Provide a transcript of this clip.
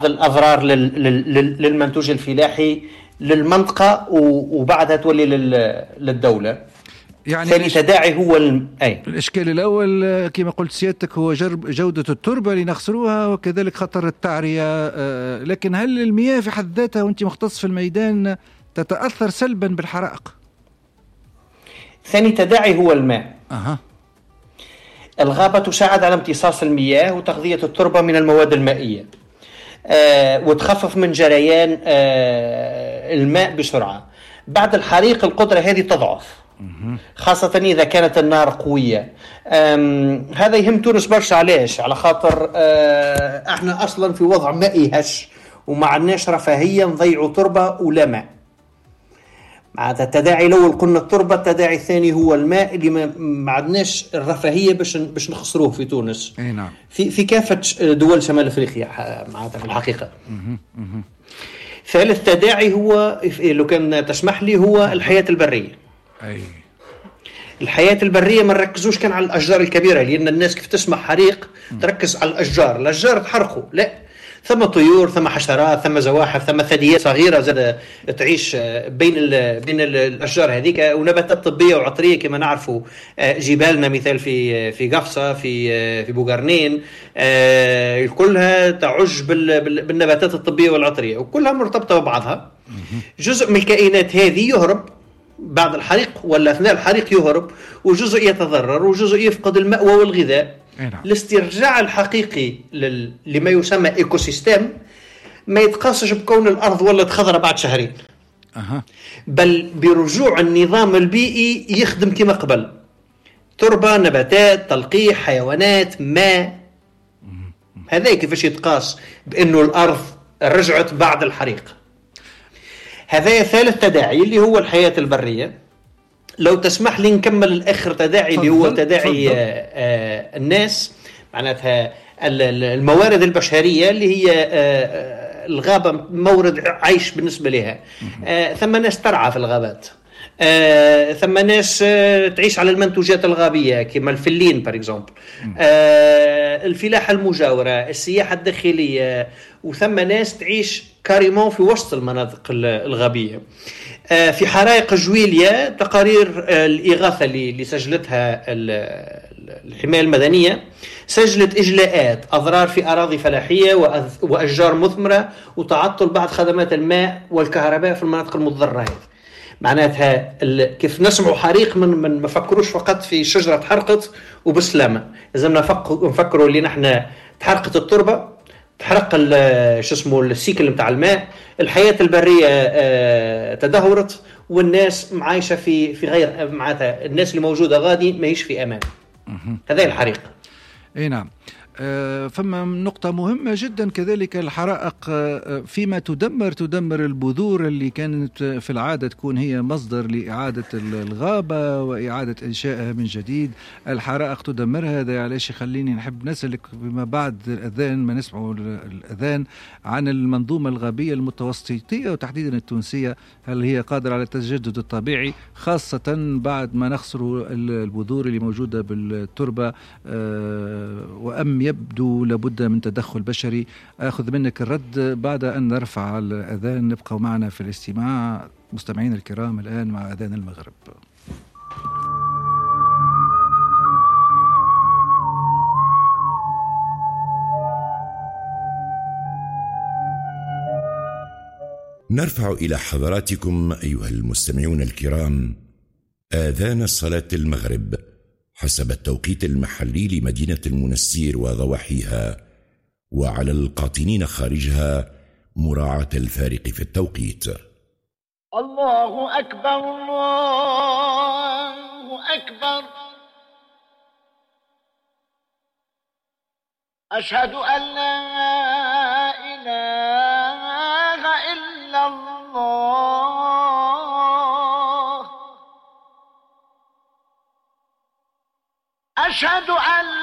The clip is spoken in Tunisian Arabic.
الأضرار للمنتوج الفلاحي للمنطقة، وبعدها تولي للدولة. يعني ثاني تداعي هو الإشكال الأول كما قلت سيادتك هو جودة التربة اللي نخسروها، وكذلك خطر التعرية. لكن هل المياه في حد ذاتها، وأنت مختص في الميدان، تتأثر سلبا بالحرائق؟ ثاني تداعي هو الماء. الغابة تساعد على امتصاص المياه وتغذية التربة من المواد المائية، وتخفف من جريان الماء بسرعة. بعد الحريق القدرة هذه تضعف، خاصة إذا كانت النار قوية. هذا يهم تونس برشا. علاش؟ على خاطر احنا أصلا في وضع مائي هش، وما عندناش رفاهية نضيعوا تربة ولا ماء. معناتها التداعي الأول قلنا التربة، التداعي الثاني هو الماء اللي ما عندناش الرفاهية باش نخسروه في تونس. أي نعم. في كافة دول شمال أفريقيا معناتها في الحقيقة. ثالث تداعي هو، لو كان تسمح لي، هو الحياة البرية. أي. الحياة البرية ما نركزوش كان على الأشجار الكبيرة، لأن الناس كيف تسمع حريق تركز على الأشجار، الأشجار تحرقوا، لا، ثم طيور، ثم حشرات، ثم زواحف، ثم ثدييات صغيرة زاد تعيش بين الأشجار هذيك، ونباتات طبية وعطرية كما نعرفوا جبالنا مثال في قفصة، في بوغرنين، كلها تعج بالنباتات الطبية والعطرية، وكلها مرتبطة ببعضها. جزء من الكائنات هذه يهرب بعد الحريق ولا أثناء الحريق يهرب، وجزء يتضرر، وجزء يفقد المأوى والغذاء. الاسترجاع الحقيقي لما يسمى écosystème ما يتقاسش بكون الأرض ولت خضرة بعد شهرين، بل برجوع النظام البيئي يخدم كما قبل: تربة، نباتات، تلقيح، حيوانات، ماء. هذا كيفاش يتقاس بأنه الأرض رجعت بعد الحريق. هذا ثالث تداعي اللي هو الحياة البرية. لو تسمح لي نكمل الآخر تداعي اللي هو تداعي الناس، معناتها الموارد البشرية اللي هي الغابة مورد عيش بالنسبة لها. ثم ناس ترعى في الغابات، ثم ناس تعيش على المنتوجات الغابية كما الفلين par exemple، الفلاحة المجاورة، السياحة الداخلية، وثم ناس تعيش carrément في وسط المناطق الغابية. في حرائق جويليا تقارير الإغاثة اللي سجلتها الحماية المدنية سجلت إجلاءات، أضرار في أراضي فلاحية وأشجار مثمرة، وتعطل بعض خدمات الماء والكهرباء في المناطق المتضررة. هذه معناتها كيف نسمعوا حريق من ما فكروش فقط في شجرة تحرقت وبسلامة، لازم نفكروا اللي نحن تحرقت التربة، تحرق شو اسمه السيكل متاع الماء، الحياة البرية تدهورت، والناس معايشة في غير، معناتها الناس اللي موجودة غادي ماهيش في أمان. هذا الحريق. اي نعم. فما نقطة مهمة جدا كذلك، الحرائق فيما تدمر البذور اللي كانت في العادة تكون هي مصدر لإعادة الغابة وإعادة إنشائها من جديد. الحرائق تدمرها. هذا علاش يخليني نحب نسألك بما بعد الأذان، ما نسمعوا الأذان، عن المنظومة الغابية المتوسطية وتحديدا التونسية، هل هي قادرة على التجدد الطبيعي خاصة بعد ما نخسر البذور اللي موجودة بالتربة، وأم يبدو لابد من تدخل بشري؟ أخذ منك الرد بعد أن نرفع الأذان. نبقى معنا في الاستماع مستمعين الكرام الآن مع أذان المغرب. نرفع إلى حضراتكم أيها المستمعون الكرام آذان صلاة المغرب حسب التوقيت المحلي لمدينة المنستير وضواحيها، وعلى القاطنين خارجها مراعاة الفارق في التوقيت. الله أكبر، الله أكبر، أشهد أن لا إله إلا الله، أشهد